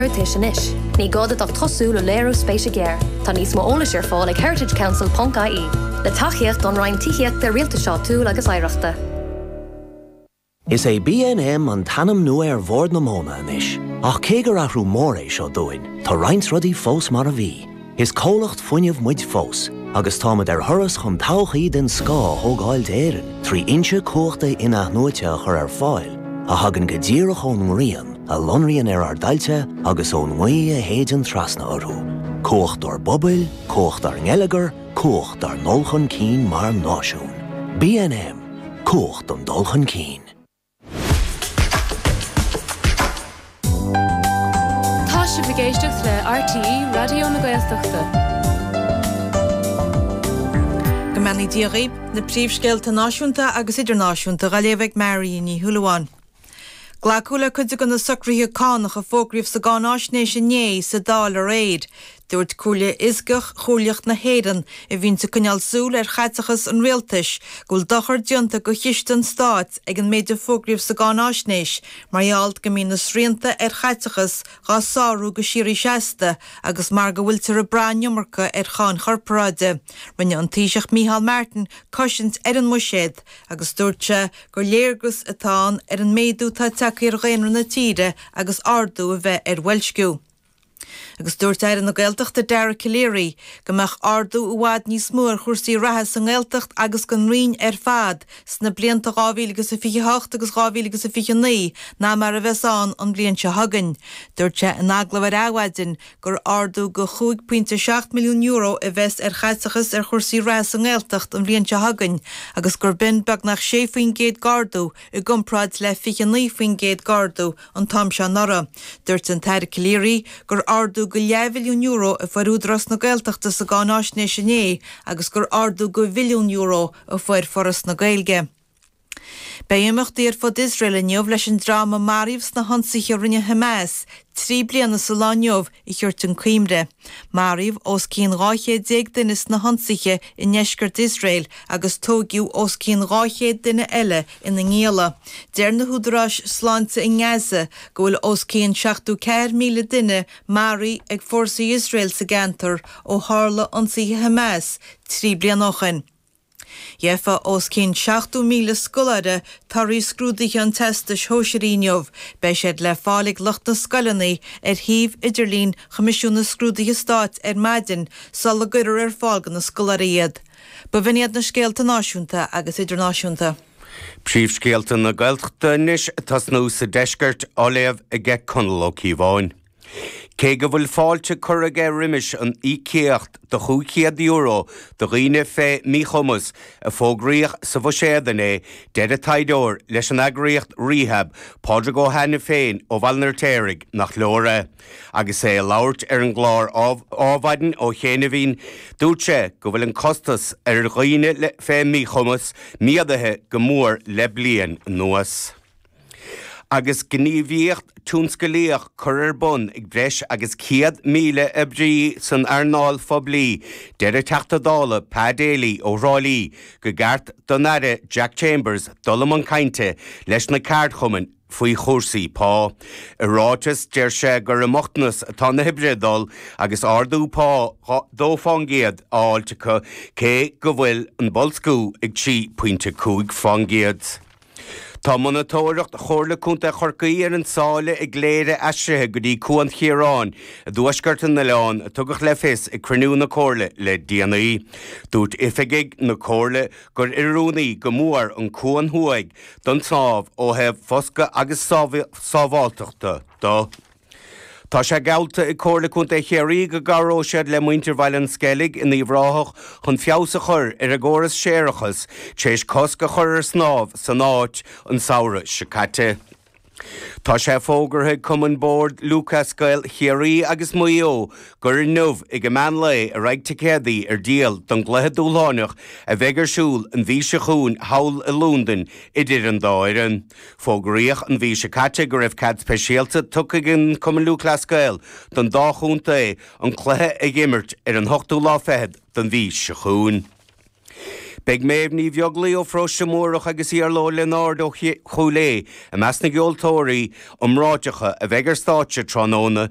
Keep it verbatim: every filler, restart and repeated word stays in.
Iarratais anois. Ní gá duit ach tosú le léiriú spéise géar. Tá níos mó eolais ar fáil ag heritagecouncil.ie, le tacaíocht ón Roinn Tithíochta Rialtais Áitiúil agus Oidhreachta. Is é BNM an t-ainm nua ar Bhord na Móna anois, ach cé gur athrú mór é seo dúinn, tá roinnt rudaí fós mar a bhí. Is comhlacht fuinnimh muid fós, agus táimid ar thuras chun todhchaí den scoth a thógáil d'Éirinn, trí fhoinse cumhachta in-athnuaite a chur ar fáil, a thagann go díreach ón ngrian, a lonraíonn ar ár dtailte agus ón ngaoth a shéideann trasna orthu. Cumhacht ár bpobail, cumhacht ár ngeilleagar, cumhacht ár ndul chun cinn mar náisiún. BNM, cumhacht an dul chun cinn. Tá sibh ag éisteacht le RTÉ Raidió na Gaeltachta. Go mbeannaí Dia dhaoibh, na príomhscéalta náisiúnta agus idirnáisiúnta á léamh ag Mary Ní Shúilleabháin. Glacadh le cuid de na socruithe cánach a fógraíodh sa gcáinaisnéis inné sa Dáil aréir. Dúirt Comhairle Fhioscach Chomhairleach na hÉireann, a bhíonn ag coinneáil súil ar chaiteachas an rialtais, go bhfuil dochar déanta do chiste an stáit ag an méid a fógraíodh sa gcáinaisnéis, mar gheall go mbíonn na srianta ar chaiteachas dhá sárú go síoraí seasta agus mar go bhfuiltear ag brath an iomarca ar cháin chorparáide. Rinne an Taoiseach Micheál Martin cosaint ar an mbuiséad agus dúirt sé gur léargas atá ann ar an méadú atá tagtha ar dhaonra na tíre agus ardú a bheith ar bhoilsciú. Agus dúirt Aire na Gaeltachta Dara Calleary go mbeadh ardú i bhfad níos mó ar chúrsaí reatha sa nGaeltacht agus don Roinn ar fad sna blianta dhá mhíle agus a fiche hocht agus dhá mhíle agus a fiche naoi ná mar a bheas ann an bhliain seo chugainn. Dúirt sé in agallamh ar Adhmhaidin gur ardú go chúig pointe seacht milliún euro a bheas ar chaiteachas ar chúrsaí reatha sa nGaeltacht an bhliain seo chugainn agus gur b'in beagnach sé faoin gcéad d'ardú i gcomparáid le fiche naoi faoin gcéad d'ardú an t-am seo anuraidh. Dúirt an tAire Calleary gur ardú go leathbhilliún euro a fuair Údarás na Gaeltachta sa gcáinaisnéis inné agus gur ardú go bhilliún euro a fuair Foras na Gaeilge. Beidh imeachtaí ar fud Iosrael inniu leis an dream a maraíodh sna hionsaithe a rinne Hamas trí bliana sa lá inniu a thabhairt chun cuimhne. Maraíodh os cionn dhá chéad déag duine sna hionsaithe i ndeisceart Iosrael agus tóigeadh os cionn dhá chéad duine eile ina ngialla. Deir na húdaráis sláinte i nGaza go bhfuil os cionn seachtó ceathair míle duine maraithe ag fórsaí Iosrael sa gceantar ó tharla ionsaithe Hamas trí bliana ó shin. Gheofa os cionn seachtó míle scoláire torthaí scrúduithe an Teastais Shóisearaigh inniu. Beidh siad le fáil ag lucht na scoileanna ar shuíomh idirlín Choimisiún na Scrúduithe Stáit ar maidin sula gcuirfear ar fáil do na scoláirí iad. Ba bh'in iad na scéalta náisiúnta agus idirnáisiúnta. Príomhscéalta na Gaeltachta anois ag tosnú sa deisceart á léamh aige Conall Ó Cíobháin. Cé go bhfuil fáilte curtha aige roimis an íocaíocht de chúig chéad euro do dhaoine fé mhíchumas a fógraíodh sa bhuiséad inné, deir an taighdeoir leis an eagraíocht Rehab, Pádraig Ó hAiniféin ó Bhaile an Fheirtéaraigh, nach leor é. Agus é ag labhairt ar an gclár Adhmhaidin ó chianaibhín, dúirt sé go bhfuil an costas ar dhaoine fé mhíchumas méadaithe go mór le bliain anuas. Agus gníomhaíocht tionsclaíoch curtha ar bun ag breis agus céad míle oibrí san earnáil phoiblí, deir an Teachta Dála Pa Daly ó Thrá Lí go gceart don Aire Jack Chambers dul i mbun cainte leis na ceardchumainn faoi chúrsaí pá. I ráiteas, deir sé gur i mbochtanas atá na hoibrithe ag dul agus ardú pá dó fán gcéad á fháilt acu cé go bhfuil an boilsciú ag trí pointe cúig fán gcéad. Tá monatóireacht Chomhairle Contae Chorcaí ar an tsáile i gCléire aistrithe go dtí Cuan Chiaráin i dtuaisceart an oileáin, a tugadh le fios ag cruinniú na Comhairle le déanaí. Dúirt oifigigh na Comhairle gur oiriúnaí go mór an cuan thuaidh don tsnámh ó thaobh foscadh agus sábháilteachta de. Tá sé geallta ag Comhairle Contae Chiarraí go gcabhróidh siad le muintir Bhaile an Sceilg in Uíbh Ráthach chun feabhas a chur ar a gcóras séarachais tar éis cosc a chur ar shnámh san áit an samhradh seo caite. Tá sé fógartha ag Cumann Bord Lúthchleas Gael Chiarraí agus Mhaigh Eo gur inniu ag an meán lae a raghaidh ticéadaí ar díol don gcluiche dúshláineach a bheidh ar siúl an mhí seo chugainn thall i Londain idir an dá fhoireann. Fógraíodh an mhí seo caite go raibh cead speisialta tugtha ag an Cumann Lúthchleas Gael don dá chontae an cluiche a dh'imirt ar an hochtú lá fichead den mhí seo chugainn. Beidh Méabh Ní Bheaglaoich ó Pharóiste Múrach agus Iarla Ó Lionáird ó Chúil Aodha i measc na gceoltóirí iomráiteacha a bheidh ar stáitse tráthnóna.